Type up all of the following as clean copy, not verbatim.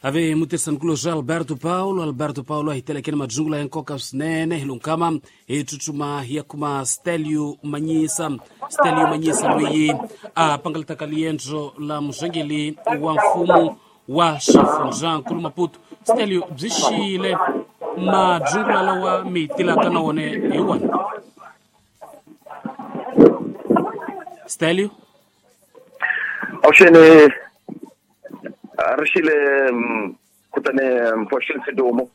Ave mutirhisanikulu Alberto Paulo. Alberto Paulo a hi telekeni madzungula ya nkoka swinene hi lunkama hi tsutsuma hi ya kuma Stelio Manyisa. Stelio Manyisa loyi a pangalataka liendzo la murhangeri wa mfumo wa xifundzankulu Maputo. Stelio, byi xiyile madzungula lawa mi tilaka na wona hi wona? Stelio? Avuxeni, ri xile kutani Mfoxeni Sidumo.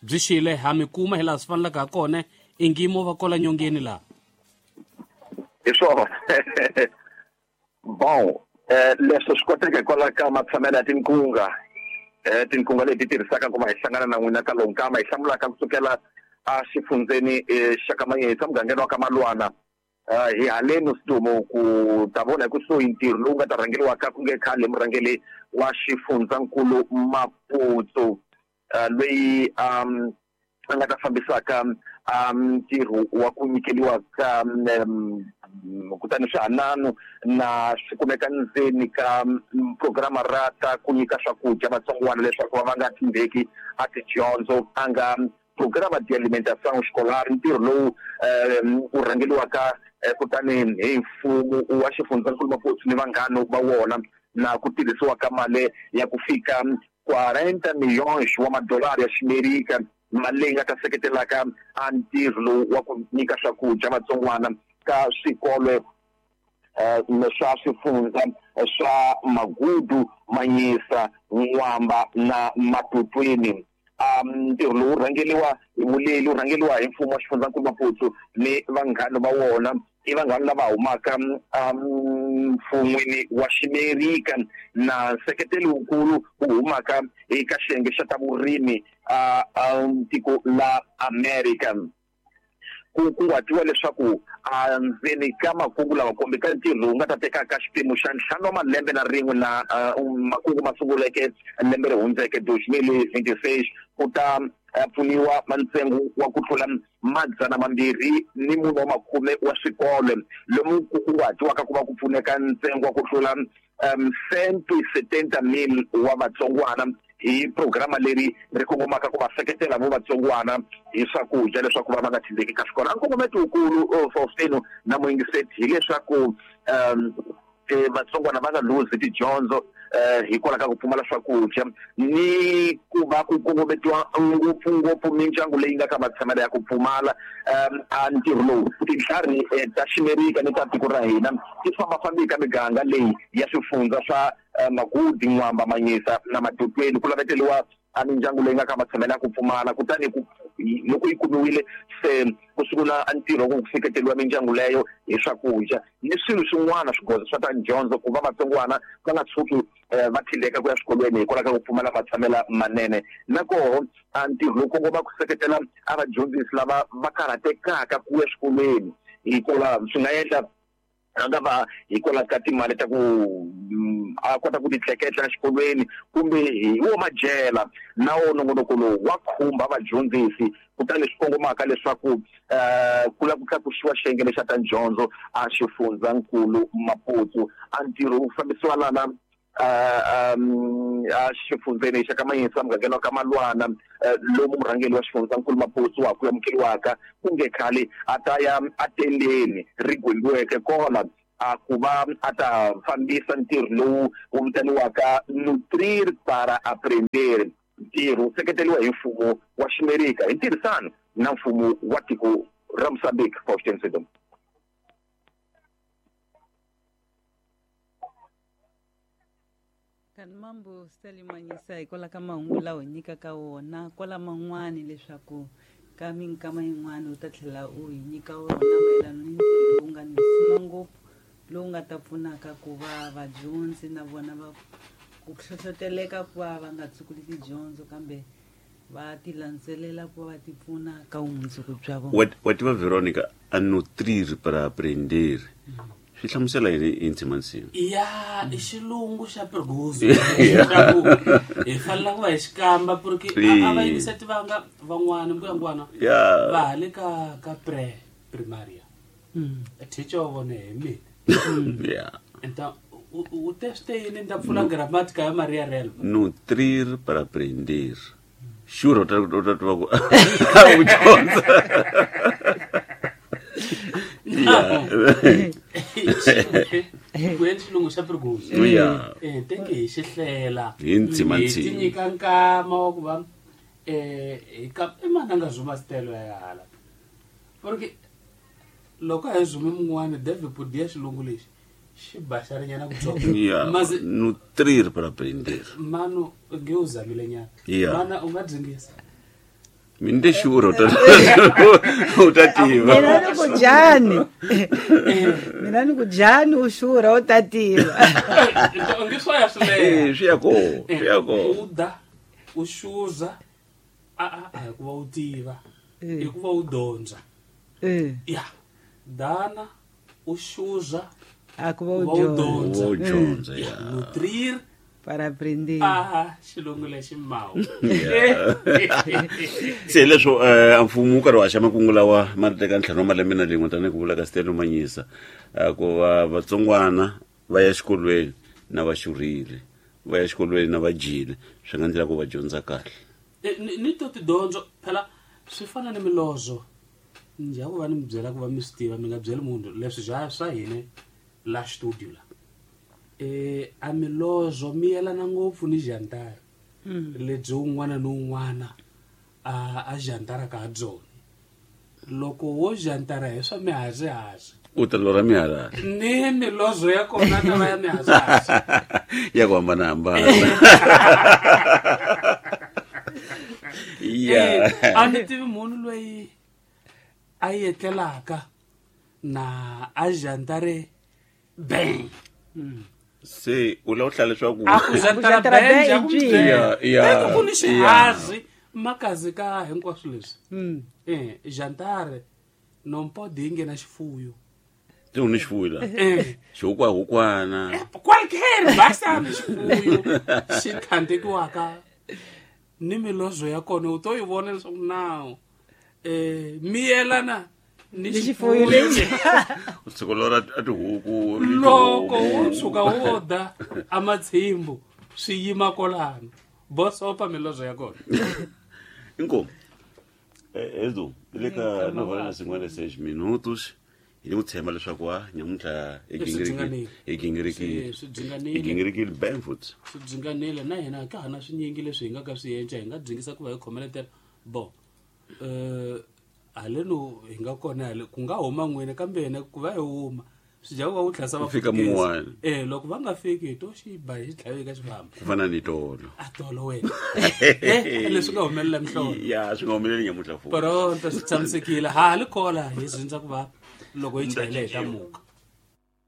Byi xile, ha mi kuma hi laha swi fanelaka ha kona, ingi mo va kola nyongeni laha. Hi swona. Bon, leswi swi koteka hikwalaho ka matshamelo ya tinkunga, tinkunga leti tirhisaka ku va hi hlangana na n'wina ka lowu nkama hi hlamulaka kusukela a xifundzeni xa ka Manyisa, mugangeni wa ka Malwana. Hi haleni Sidumo ku ta vona hi kusuhi ntirho lowu nga ta rhangeriwaka ku nge khale murhangeri wa xifundzankulu Maputo, loyi a nga ta fambisaka ntirho wa ku nyikeriwa ka kutani swihanano na swi kumeka ndzeni ka programa ra ta ku nyika swakudya vatsongwana leswaku va nga tshembeki a tidyondzo, a nga programa de alimentação escolar, ntirho lowu wu rhangeriwaka kutani hi mfumo wa xifundzankulu Maputo ni vanghana va wona, na ku tirhisiwa ka mali ya ku fika 40 milhões wa madolari ya Ximerika, mali leyi nga ta seketelaka a ntirho lowu wa ku nyika swakudya vatsongwana ka swikolo swa swifundza swa Magudu, Manyisa, N'wamba na Matutweni. Ntirho lowu rhangeriwa hi vuleli, wu rhangeriwa hi mfumo wa xifundzankulu Maputo ni vanghana va wona, i vanghana lava humaka mfun'wini wa Ximerika na nseketelo wukulu wu humaka eka xiyenge xa ta vurimi a tiko la America. Ku kunguhatiwa leswaku endzeni ka makungu lawa kumbe ka ntirho lowu nga ta tekaka xiphemu xa 5 wa malembe na rin'we na makungu ma sunguleke lembe ri hundzeke 2026, ku ta pfuniwa ntsengo wa ku tlula 240 wa swikolo, lomu ku kunguhatiwaka ku va ku pfuneka ntsengo wa ku tlula 170,000 wa vatsongwana hi programa leri ri kongomaka ku va seketela vo vatsongwana hi swakudya leswaku va nga tshembeki ka swikolo. A nkongometo wukulu Faustino na muyingiseti hileswaku vatsongwana va nga luzi tidyondzo hikwalaho ka ku pfumala swakudya, ni ku va ku kongometiwa ngopfungopfu mindyangu leyi nga ka matshamelo ya ku pfumala. A ntirho lowu tintlhari ta Ximerika ni ta tiko ra hina ti fambafambi ka miganga leyi ya swifundza swa Magudi, N'wamba, Manyisa na Matutweni, ku laveteliwa a mindyangu leyi nga ka matshamelo ya ku pfumala. Kutani loko yi kumiwile, se ku sungula ntirho ku seketeriwa mindyangu leyo hi swakudya ni swilo swin'wana, swigoza swa ta dyondzo, ku va vatsongwana va nga tshuki va tshindeka ku ya swikolweni hikwalaho ka ku pfumala matshamelo manene. Na koho a ntirho lowu kongoma ku seketela a vadyondzisi lava va karhatekaka ku ya swikolweni, hikwalaho swi nga endla a nga va hikwalaho ka timali ta ku a kota ku titleketla exikolweni kumbe hi wo madyela. Na wo nongonoko lowu wa khumba vadyondzisi, kutani swi kongomaka leswaku ku lava ku tlakusiwa xiyenge lexa ta dyondzo a xifundzankulu Maputo. A ntirho wu fambisiwa lana a xifundzeni xa ka Manyisa, mugangeni wa ka Malwana, lomu murhangeri wa xifundzankulu Maputo wa ku amukeriwaka ku nge khale a ta ya atendeni ri gwembiweke kona a ku va a ta fambisa ntirho lowu wu vitaniwaka Nutrir para Aprender. Ntirho wu seketeriwa hi mfumo wa Ximerika hi ntirhisano na mfumo wa tiko ra Mozambique. Faustin Sedom. Kani mambo Stelio Manyisa, hikwalaho ka mahungu lawa hi nyikaka wona kwala man'wani, leswaku ka minkama yin'wani u ta tlhela u hi nyika wona mayelana ni ntirho lowu nga ni risima ngopfu, lowu nga ta pfunaka ku va vadyondzi na vona va ku hlohloteleka ku va va nga tsukuli tidyondzo kambe va ti landzelela ku va va ti pfuna ka vumundzuku bya vona. Wa tiva Veronica, a nutrir para aprender swi hlamusela yini hi ndzimandzima? Ya, i xilungu xa pergoso leswaku hi fanele ku va hi xikamba, porque a va yingisa tivanga van'wana mbuyangwana va ha le ka pre primaria. Teacher wa vona hi mina. Então U teste yini ni ta pfula gramática ya Maria Relva. Nutrir para aprender. Sure, u ta tiva ku u dyondza. Ku endla xilungu xa periguso. Teke hi xi hlela. Hi ntsima. Hi ntsima. ti nyika nkama wa ku va hi ka i mani a nga zuma stelo ya hala, porque loko a hi zume mun'wani David Podia xilungu lexi xi baxarinyana kutsongo. Mazi Nutrir para aprender. Manu nge u zamile nyana. Mana u nga dzingisa. Mi ni te sure u ta tiva. Mina ni ku dyani, mina ni ku dyani, u xurha u ta tiva. Nge swa ya swi leha. Swi ya ko, swi ya ko. U da u xuza a hi ku va u tiva, i ku va u dyondza. Ya dana u xuza a ku va u ku va u dyondza. dyondza. U dyondza ya. Nutrir para aprender. A xilungu lexi mawu. Se leswo a mfumo wu karhi wa haxa makungu lawa ma ri teka 5 wa malembe na lin'we, tanihi ku vula ka Stelo Manyisa, ku va vatsongwana va ya xikolweni na va xurhile, va ya xikolweni na va dyile, swi nga ndlela ku va dyondza kahle. Ni to tidyondzo phela swi fana ni milozo njhe ku va ni mi byela ku va mi swi tiva, mi nga byeli munhu leswi swa swa hina la studio la a milozo mi yelana ngopfu ni jantara lebyi un'wana ni un'wana a jantaraka ha byona. Loko wo jantara hi swa mihazihazi, U ta lorha miharali. Ni milozo ya kona ta va ya mihazihazi. Ya ku hambanahambana ya. A ni tivi munhu loyi a yetlelaka na a jantare bang. Se u lava ku hlaya leswaku A ku jantara jantara bang bang ya ku i ncini? Eka ku ni xihazi makazi ka hinkwaswo leswi. Jantare nompodi yi nge na xifuyo. Se u ni xifuyo la xihukwahukwana. Qualquer basta ni xifuyo xi tlhantekiwaka ni milozo ya kona u to yi vona leswaku nawu mi yelana ni Ni xifuyo xifuyo lexi. U tshuka lora a tihuku. Loko wo tshuka wo da amatshimbu swi yima kolano bosopa milozo ya kona. Inkomu. Edu, hi le ka 9:56 minutos. Hi ku tshemba leswaku wa nyamuntlha hi Swi gingirikile, hi gingirikile. Swi Hi dzunganile. gingirikile bam futhi. Swi dzunganile na hina ka ha na swinyingi leswi hi nga ka swi endla, hi nga dzingisa ku va hi khomeletela bo haleno hi nga kona hale ku nga huma n'wina, kambe hina ku va hi huma swi dya ku va wu tlhasa. Ku fika mun'wana. Loko va nga fiki hi to xi ba hi xi tlhavi ka xifambo. Ku fana ni tolo. A tolo wena, leswi nga humelela mihlolo. Ya, swi nga humeleli nyamuntlha futhi. Pronto, swi tshamisekile, ha li kola hi zindza ku va loko hi chayele hi ta muka.